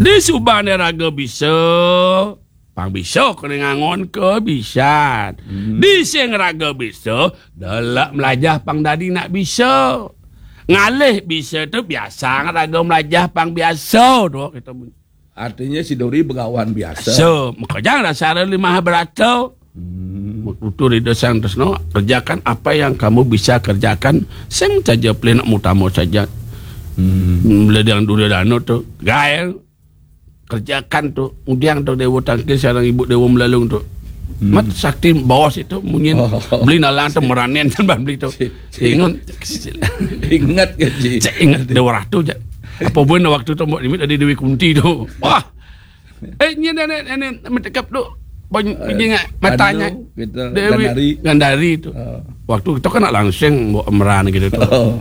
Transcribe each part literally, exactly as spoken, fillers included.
Di subané raga bisa, pang bisa kena ngangonka bisa. Hmm. Di sing raga bisa, delek melajah pang dadi nak bisa. Ngalih bisa tu biasa raga melajah pang biasa tu kita. Artinya si Dori begawan biasa. So, makanya dasar lima berata. Hmm. Tutur Ida Sang Tresna, kerjakan apa yang kamu bisa kerjakan, sing saja pelih nak mutama saja. Hmm. Mula dengan Duryodana tu, gael, kerjakan tu, udiang tu Dewa Tangkil sareng Ibu Dewa Melalung tu. Hmm. Mat sakti bos itu munyin. Oh. Beli nalang tu meranin tambah beli tu. Si, si. Ingat. Ingat ke, Ji? Cak ingat Dewa Ratu, cak. Apa pun waktu tu, Mbok Nimit ada Dewi Kunti tu. Wah. Eh, ni nenek, nenek metekap tu. Bany-, eh, banyaknya matanya. Anu, kita Dewi Gandari. Gandari tu. Oh. Waktu kita kan nak langsung bawa emeran gitu tu. Oh.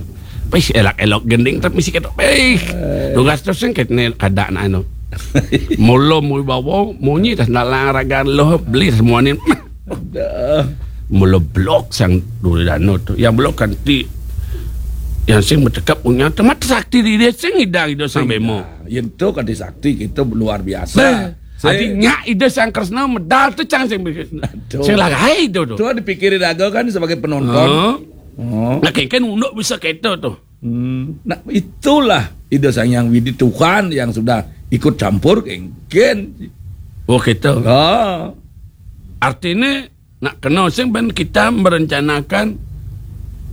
Pis elak-elok gending tapi mesti kata, "Eh, eh, tugas tu sing kene kada nak anu." Mula mui bawa, munyi dah nalang ragan loh, beli semua ni. Dah. Mula blok sang Duryodana tu. Yang blok kanti. Yang sing metekap punya temat sakti di dia sing idang Ida Sang Bema. Yen tu kanti sakti kita luar biasa. Bah, sing adi nyak Ida Sang Kresna medal tu cang sing, aduh, sing lagai tu tu. Tu dipikiri raga kan sebagai penonton. Heeh. Oh. Nah, kengken unduk bisa kita tu. Hmm. Nah, itulah Ida Sang Hyang Widi Tuhan yang sudah ikut campur kengken. Oh, kita. Ha. Artinya nak kena sing ben kita merencanakan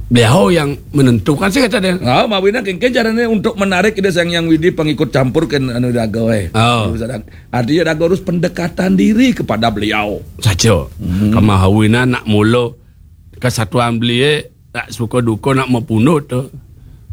beliau yang menentukan sih kata dia. Ha, mawina kengken caranya untuk menarik Ida Sang Hyang Widi pengikut campur ke anu raga, eh. Oh. Artinya raga harus pendekatan diri kepada beliau. Saja. Hmm. Kemahawina nak mula kesatuan beliau, nak suka duka nak membunuh tu.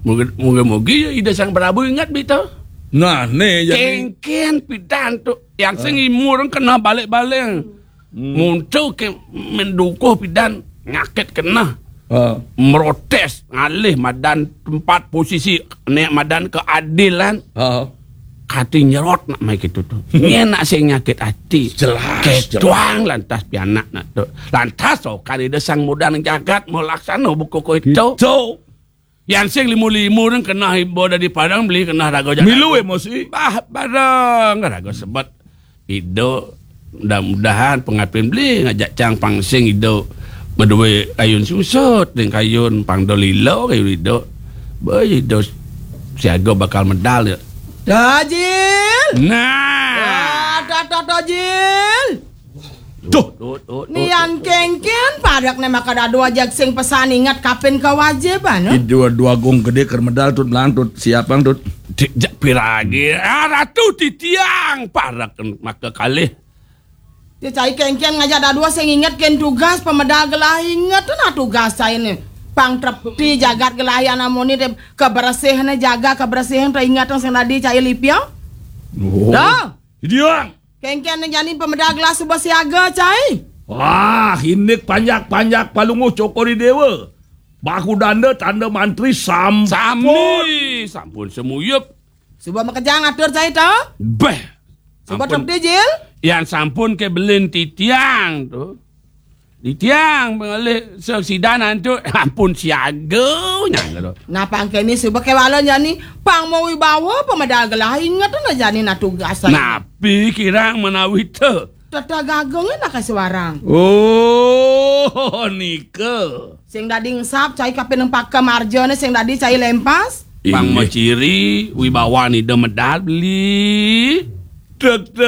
Moga-moga ya Ida Sang Prabu ingat bita. Nah, ni jadi kengken pidan tu. Yang sing, ah, imur kena balik-balik. Hmm. Muncul ke mendukuh pidan nyakit kena. Ah. Merotes ngalih madan tempat posisi nek madan keadilan. Ah. Hati nyerot nak mai gitu tu. Ni nak sing nyakit hati. Jelas, ketuang jelas. Lantas pianak nak tu. Lantas so kali dia sang mudan jagat melaksana buku ko itu. Itu. Yang sing limu-limu nang kena ibu dari Padang beli kena raga jagat. Milu emosi. Bah, barang raga sebet. Ido, mudah-mudahan pengapin beli ngajak cang pang sing ido. Medue kayun susut ding kayun pang dolilo kayun ido. Boy ido siaga bakal medal ya. Dajil. Nah. Dah, dah, dah, Dajil. Duh. Duh, duh, duh, nian duh. Kengken padak ne maka dadu aja sing pesan ingat kapin kewajiban, no? Ido dua gong gede ker medal tut melang tut siapang tut. Dik jak piragi. Ah, Ratu Titiang parak maka kalih. Dia cai kengken ngajak dadua sing inget ken tugas pemedal gelah inget tu nah tugas cai ni. Pang trepti jagat gelah yang namoni de kebersihan jaga kebersihan tu inget tu sing tadi cai lipia. Oh. Dah. Titiang. Kengken ni jani pemedal gelah suba siaga cai. Wah, indik panjak-panjak palunguh cokori dewa. Bahu danda tanda mantri sampun. Sami, sampun semuyup. Suba makejang atur cai to? Beh. Suba ampun. Trepti, Jil? Yang sampun ke belin titiang tu. Titiang pengalih sesidan antuk. Ampun siaga nyang tu. Nah, pangkeni suba ke wala jani pang mau wibawa pemedal gelah inget tu nah jani nah tugas cai. Napi kirang menawi tu? Tetagagung nak suarang. Oh, nika. Sing dadi ngesap cai kapin nempaka marjane sing dadi cai lempas. Pang maciri wibawa nida medal beli. Tek, tek.